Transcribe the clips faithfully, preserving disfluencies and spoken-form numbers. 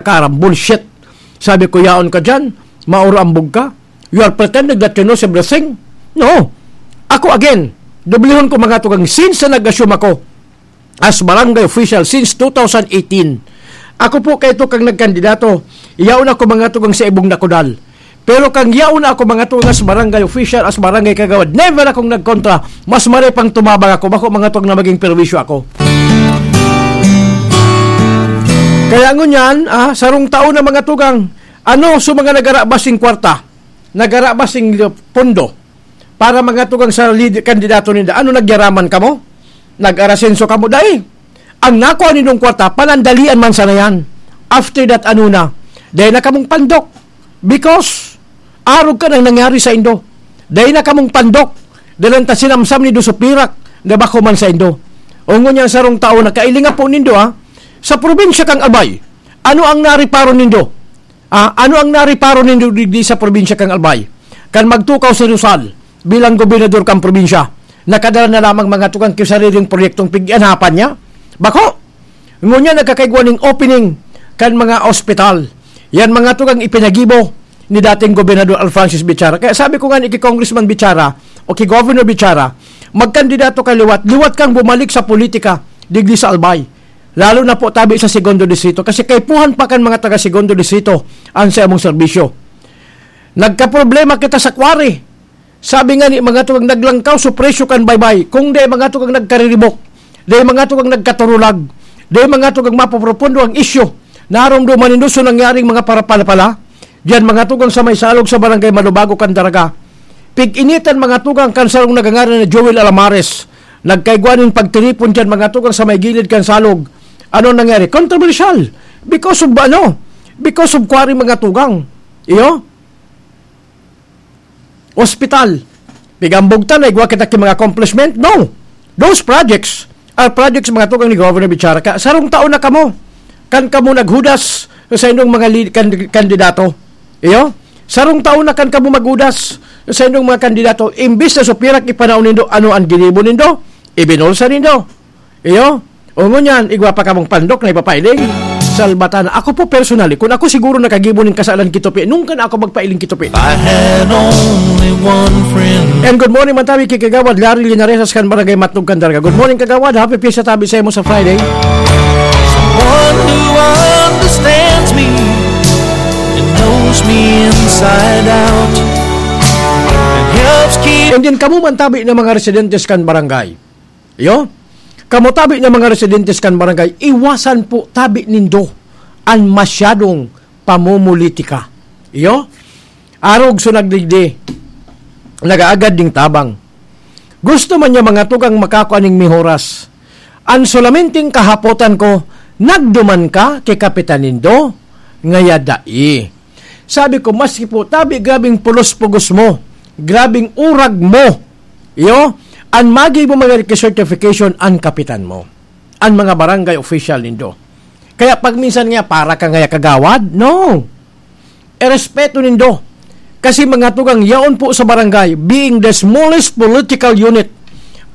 Karam, bullshit. Sabi ko, "Yaon ka dyan, maurambog ka. You are pretending that you knows everything." No. Ako again, dublihon ko, mga tugang, since na nag-assume ako as barangay official since two thousand eighteen, ako po kaito kang nagkandidato, yaon ako, mga tugang, sa ibong nakudal. Pero kang yaon na ako, mga tugang, as barangay official, as barangay kagawad, never akong nagkontra. Mas maray pang tumabang ako, bako, mga tugang, na maging perwisyo ako. Kaya ngunyan, ah, sarong taon na, mga tugang, ano, so mga nagarabas sing kwarta, nagarabas sing pondo, para, mga tugang, sa lead, kandidato ninda. Ano, nagyaraman kamo? Nag-arasenso kamo? Dai. Ang nakuha nindong kwarta, panandalian man sana yan. After that, ano na? Dai na kamong pandok. Because, arog ka nang nangyari sa indo. Dai na kamong pandok. Dalan ta sinamsam nindo sa pirak, na bako man sa indo. O ngunyan sarong tao na kailinga po nindo, ha? Sa probinsya kang Albay, ano ang nariparo nindo? Ah, ano ang nariparo nindo digdi sa probinsya kang Albay? Kan magtukaw si Rizal bilang gobernador kan probinsya, nakadala na lamang, mga tugang, ki sariling proyektong pig-ianapan niya? Bako! Ngunyan nagkakaigwa ning opening kan mga ospital. Yan, mga tugang, ipinagibo ni dating Gobernador Alfrancis Bichara. Kaya sabi ko nga ni ki Congressman Bichara o ki Governor Bichara, magkandidato ka liwat, liwat kang bumalik sa politika digdi sa Albay. Lalo na po tabi sa Segundo Distrito. Kasi kaipuhan pa kan mga taga Segundo Distrito ang sa imong serbisyo. Nagkaproblema kita sa quarry. Sabi nga ni, mga tugang, naglangkaw so presyo kan baybay. Kung di, mga tugang, nagkariribok. Di, mga tugang, nagkaturulag. Di, mga tugang, mapoprofundo ang isyu. Naromdoman nindo so nangyaring mga parapalapala. Diyan, mga tugang, sa may salog sa barangay Malubago kan Daraga. Pig-initan, mga tugang, kan sarong nagangaran na Joel Alamares. Nagkaigwa nin pagtiripon diyan, mga tugang, sa may gilid kan salog. Ano nangyari? Kontrobersyal. Because of ano? Because of quarry, mga tugang. Iyo? Ospital. Pigambog ta, naigwa kita ki mga accomplishment? No. Those projects are projects, mga tugang, ni Governor Bichara. Ka, sarong taon na kamo. Kan kamo naghudas sa inyong mga li-, kan-, kandidato. Iyo? Sarong taon na kan kamo maghudas sa inyong mga kandidato. Imbis na supirak ipanaw nindo, ano ang ginibo nindo? Ibinulsa nindo. Iyo? O ngunyan, igwa pa kamong pandok na ipapailing. Salbatan. Ako po personally, kung ako siguro nakagibo nin kasalan ki Tupi, nung kan ako magpailing ki Tupi. I had only one friend. And good morning, man tabi ki Kagawad Larry Linares kan Barangay Matnog kan Daraga. Good morning, Kagawad. Happy Fiesta tabi sa imo sa Friday. Someone who understands me and knows me inside out and helps keep. And then, kamo man tabi na mga residentes kan barangay. Iyo? Kamo tabi na mga residentes kan barangay, iwasan po tabi nindo an masyadong pamumulitika. Iyo? Arog so nagdigdi, nagaagad ning tabang. Gusto man niya, mga tugang, makakua ning mihoras. An solamenting kahapotan ko, nagduman ka ki kapitan nindo, ngaya dai. Sabi ko, "Maski po, tabi grabing pulos-pugos mo, grabing urag mo, iyo, an magibo man ki certification an kapitan mo, an mga barangay official nindo." Kaya pag minsan nga, "Para ka ngaya kagawad?" No. Irespeto nindo. Kasi, mga tugang, yaon po sa barangay, being the smallest political unit,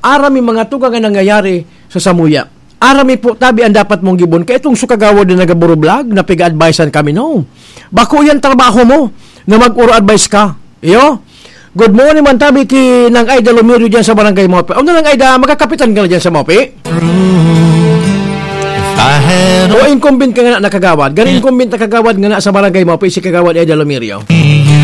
aram mi, mga tugang, ang nangyayari sa samuya. Aram mi po tabi ang dapat mong gibon. Kaya itong sukagawad na nagaburublag, na piga-advisean kami, no. Bako yan trabaho mo, na mag-uro-advise ka. Iyo? Good morning man tabi ki Nang Aida Lumirio dyan sa Barangay Mope. Ano, Nang Aida, magkakapitan ka na dyan sa Mope? If I had O incumbent ka nga na, nakagawad. Gani incumbent na kagawad nga na sa Barangay Mope, si Kagawad Aida Lumirio.